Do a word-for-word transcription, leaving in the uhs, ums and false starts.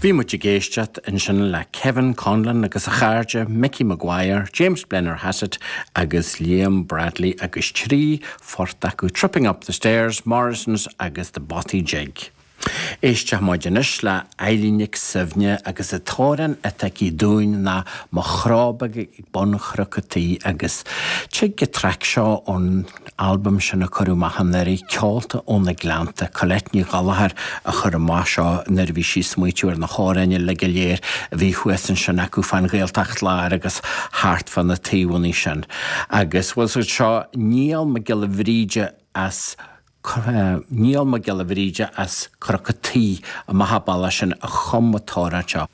Bhí muid ag éisteacht ansin le Kevin Conlon agus a chairde Mickey Maguire, James Blennerhassett agus Liam Bradley agus trí phort acu Tripping Up the Stairs, Morrison's agus the Bothy Jig. Éisteoidh muid anois le Eilín Nic Suibhne agus an t-amhrán atá aici dúinn ná Mo Chró Beag ag Bun Chnoc an Tí agus tig an traic seo ón albam sin a cuireadh amach anuraidh Ceolta ó na Gleannta Colette Ní Ghallchóir a chuir amach seo nuair a bhí sí ag smaoitiú ar na hamhráin uilig go léir a bhí thuas ansin acu fán Ghaeltacht Láir agus thart fá na taobhanna sin. Agus bhfuil seo Niall Mac Giolla Bhríde as Niall Mac Giolla Bhríde as Cnoc an Tí amach bealach sin a chum an t-amhrán seo.